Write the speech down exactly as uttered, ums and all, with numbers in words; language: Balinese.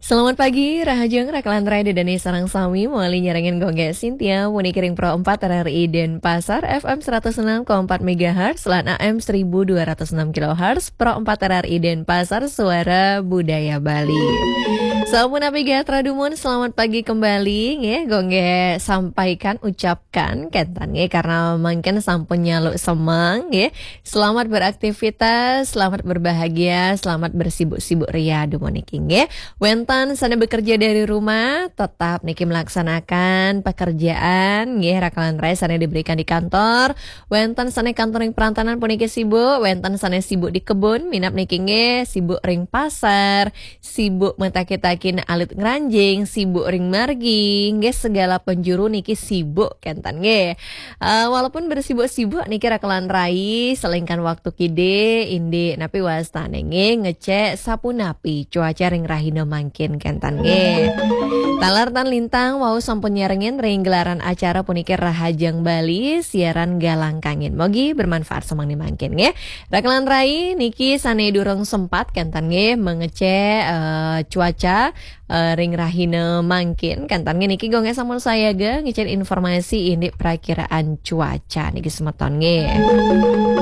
Selamat pagi, Rahajeng, Rakalan Rai, Dedani sareng sami, mawali nyarengin Gung Gé Sintia, puniki ring Pro empat R R I Denpasar, F M seratus enam koma empat megahertz, lan A M seribu dua ratus enam kilohertz, Pro empat R R I Denpasar, Suara Budaya Bali. Sapunapi gatra dumun, selamat pagi kembali, nggih, Gung Gé sampaikan, ucapkan, kénten, nggih, karena mangkin sampun nyalu semeng, nggih. Selamat beraktivitas, selamat berbahagia, selamat bersibuk-sibuk ria dumun niki, nggih. Wénten sané bekerja dari rumah, tetap niki melaksanakan pekerjaan, nggih, Rakalan Rai, sané diberikan di kantor. Wénten sané kantor ring perantanan puniki sibuk, wénten sané sibuk di kebun, minab niki, nggih, sibuk ring pasar, sibuk mataki-takin alit ngranjing, sibuk ring margi, nggih, segala penjuru niki sibuk, kénten, nggih. Eh, walaupun bersibuk-sibuk niki, Rakalan Rai, selengkan waktu kidé, indik, napi wastané, nggih, ngecek sapunapi cuaca ring rahina mangkin, kénten, nggih. Taler tan lintang wau sampun nyarengin ring gelaran acara puniki Rahajeng Bali, siaran Galang Kangin. Mogi bermanfaat semeng ni mangkin, nggih. Rakalan Rai, niki sané durung sempat, kénten, nggih, mengecek, eh, cuaca, eh, ring rahina mangkin, kénten, nggih, niki Gung Gé sampun sayaga ngicen informasi indik prakiraan cuaca niki, semeton, nggih.